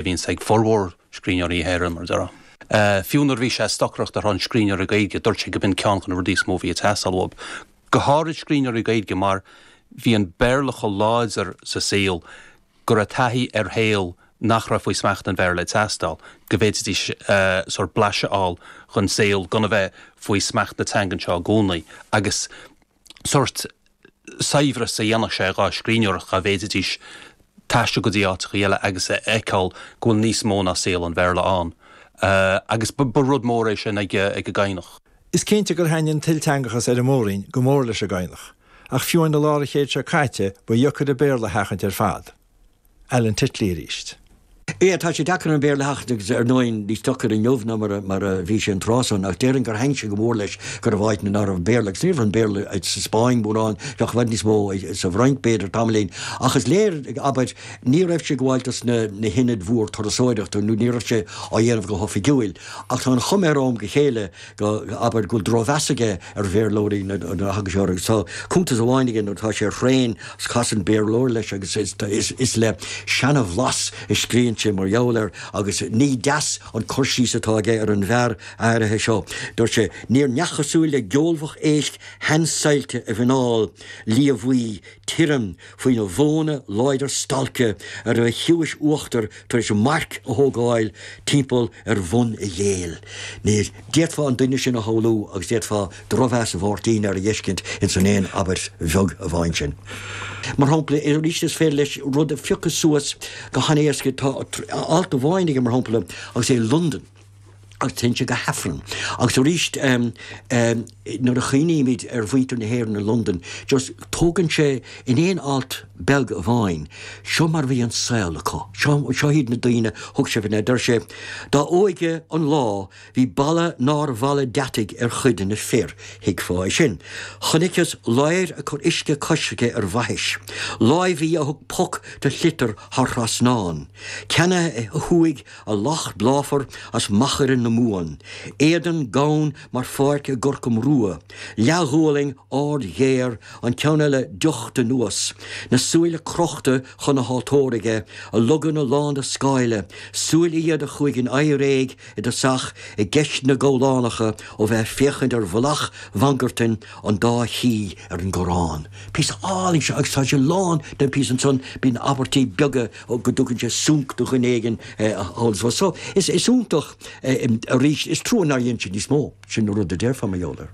a bhíonns ag formhór scríbhneoirí na hÉireann, mar a déarfá. Fiú nuair a bhí sé ag stocaireacht ar shon scríbhneoirí Gaeilge, dúirt sé go b'in ceann de na rudaí is mó a bhí ag teastáil uathu, go háirid scríbhneoirí Gaeilge mar bhí an Béarla chomh láidir sa saol go raibh taithí ar shaol nach raibh faoi smacht an Bhéarla ag teastáil, go bhféadfaidís sórt blaiseadh a fháil den saol gan a bheith faoi smacht na teangan seo i gcónaí agus sórt saibhreas a dhéanfadh sé dhá scríbhneoireacht dá bhféadfaidís taisteal go dtí áiteacha eile agus a fheiceáil go bhfuil níos mó ná saol an Bhéarla ann. Agus ba rud mór é sin ag an gCadhnach. Is cinnte gur thaitnigh an t-ilteangachas ar an Mór-Roinn go mór leis an gCadhnach, ach fiú amháin i lár an chéid seo caite ba dheocair an Béarla a sheachaint ar fad. Alan Titley arís. Yeah, tá sé deacair an Béarla a sheachaint agus ar ndóigh níos deacair inniu ná mar a, mar a bhí sé an tráth san ach déarfainn gur thaitn sé go mór leis go raibh áiteanna nach raibh Béarla agus ní raibh an Béarla sa Spáinn mórán, bheadh i bhfad níos mó sa bhFrainc b'fhéidir tamaillín ach is léir, abair, ní raibh sé ag gabháil dos na, na hionaid mhór turasóireachta nó ní raibh sé á dhéanamh go hoifigiúil ach tá an chuma air ó am go chéile go, abair, go bhfuil drochmheas aige ar Bhéarlóirí nuair a thagann sé orthu. Agus tá cuntas amháin aige nuair atá sé ar thraein agus casann Béarlóir leis agus is le seana-bhlas a scríonn sé mar gheall air agus ní deas an cur síos atá aige ar an bhfear áirithe seo. Dúirt sé, Níor neach cosúil le geolbhach éisc sheansaillte a mhuineál liathbhuí tirim faoina bhóna láidir stailce a raibh a chiumhais uachtair tar éis marc a thógáil timpeall ar bhun a bhéil. Ní d'fhéadfá an duine sin a shamhlú agus d'fhéadfá drochmheas Mháirtín air a fheiscint ins an aon abairt bheag amháin sin. Mar shampla, arís is féidir leis rud a phiocadh suas go han-éasca. Tá alt amháin aige, mar shampla, agus é i Londain. agus téann sé go hAifreann. Agus arís nuair a chuimhnímid ar mhuintir na hÉireann i Londain, just tógann sé in aon alt beag amháin, seo mar a bhí an saol acu, seo, seo iad na daoine, thug sé faoi deir sé, dá óige an lá bhí balla nár bhalla deataigh ar chuid de na fir, thuigfeá é sin. Chonaiceas ladhar ag cur uisce coisricthe ar bhaithis, láimh í a thug poc do shliotar thar thrasnán, ceannaithe a shúigh A lacht bláfar as machaire na Mumhan, éadan gann mar pháirc i gCorca Mrua, leathghualainn ard ghéar, an ceann eile deochta anuas, na súile crochta chun na haltóra aige, a loganna lán de scáile, súile iad a chuaigh in éiréig i dtosach i gceisteanna gabhlánacha ó bheith ag féachaint ar mhullach mhangartain an dá chí ar an gcorrán. Píosa álainn seo agus tá sé lán den phíosa ansan, bíonn abairtí beaga go dtugann sé sunc do dhuine éigin thall is abhus. So, is iontach arís, is trua nár dhein sé níos mó, sin an rud a déarfá mar gheall air.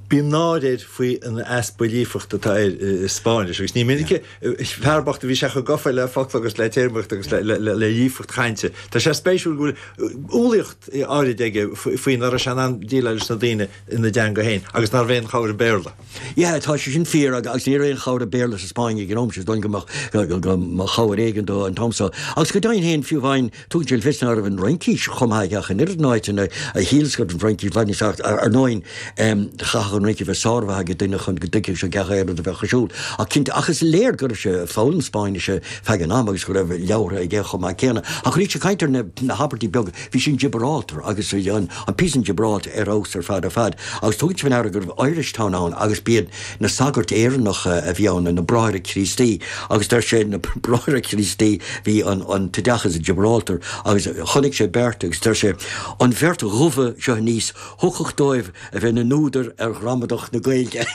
Bíonn náire air faoi an easpa líofachta atá air i Spáinnis agus ní minic fear bocht a bhí sé chomh gafa le focla agus le téarmaíocht agus le líofacht chainte. Tá sé spéisiúil go bhfuil umhlaíocht áirid aige faoi nach raibh sé in ann déileáil leis na daoine ina dteanga féin agus nárbh aon chabhair an Béarla. Yeah, tá sé sin fíor agus ní raibh aon chabhair ag Béarla sa Spáinn ag an am sin, is dóigh go mbeadh go mba chabhair éigin dó an t-am so. Agus go deimhin féin, fiú amháin, tugann sé le fios ná raibh an Fhraincis chomh maith aige ach an oiread in áiteanna a shíleas go raibh an Fhraincis i bhfad níos ach ar ndóigh chaithfeadh an Fhraincis bheith sármhaith ag duine chun go dtuigfeadh sé gach aon rud a bheadh ar siúl. Ach cinnte, ach is léir go raibh sé ag foghlaim Spáinnise feadh an ama agus go raibh leabhartha aige chomh maith céanna. Ach arís ag caint ar na habairtí beaga, Bhí sin Gibraltar agus an píosa in Gibraltar ar fheabhas ar fad ar fad agus tugann sé faoi ndeara go raibh Irish Town ann agus b'iad na sagairt Éireannacha a bhí ann, na Bráithre Críostaí agus deir sé na Bráithre Críostaí bhí an an t-oideachas i Gibraltar agus chonaic sé beirt agus deir sé an bheirt dhubha seo aníos thiocfadh dóibh a bheith ina n-údair ar ghramadach na Gaeilge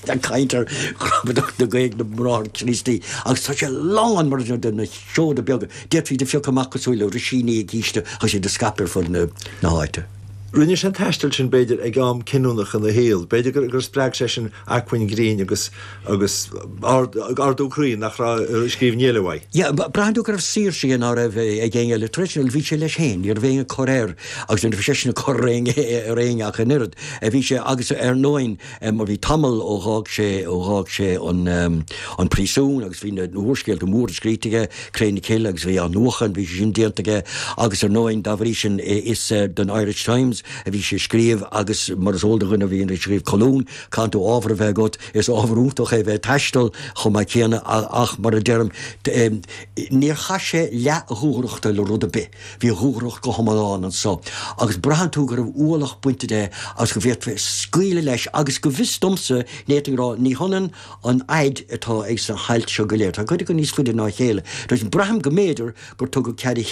ag caint ar ghramadach na Gaeilge na mBráithre Críostaí agus tá sé lán mar de na seoda beaga, d'fhéadfaí iad a phiocadh amach cosúil le risíní i gcíste agus iad a scaipeadh ar fud na háite. Rinne sé an taisteal sin, b'fhéidir, ag am cinniúnach ina shaol. B'fhéidir gur spreag sé sin acmhainn grinn agus agus ardú croí nach raibh i scríbhinní eile uaidh. Yeah, braitheann tú go raibh saoirse aige ná raibh ag éinne eile. Tar éis sin, bhí sé leis féin, ní raibh éinne ag cur air agus ní raibh seisean ag cur ar éinne ach an oiread. Bhí sé, agus ar ndóigh, Mar bhí tamall ó dh'fhág sé, ó dh'fhág sé an, an príosún agus bhí na húrscéalta móra scríte aige, Cré na Cille agus bhí Athnuachan, bhí sé sin déanta aige agus ar ndóigh dá bhrí sin is don Irish Times. agus a bhí sé ag scríobh agus mar is eol do dhuine a bhíonn ag scríobh colún, caitheann tú ábhar a bheith agat, is ábhar iontach é bheith ag taisteal chomh maith céanna ach mar a deirim, níor chaith sé leath a dhúthrachta le rud ar bith, bhí a dhúthracht go hiomlán anso agus braitheann tú go raibh ualach bainte de agus go bhféadfaí scaoileadh leis agus go bhfios domsa, ní fhéadfainn a rá, ní hionann an fhaid atá ag sna hailt seo go léir, tá cuid acu níos faide ná a chéile, braithim go mb'fhéidir gur tugadh cead a chinn.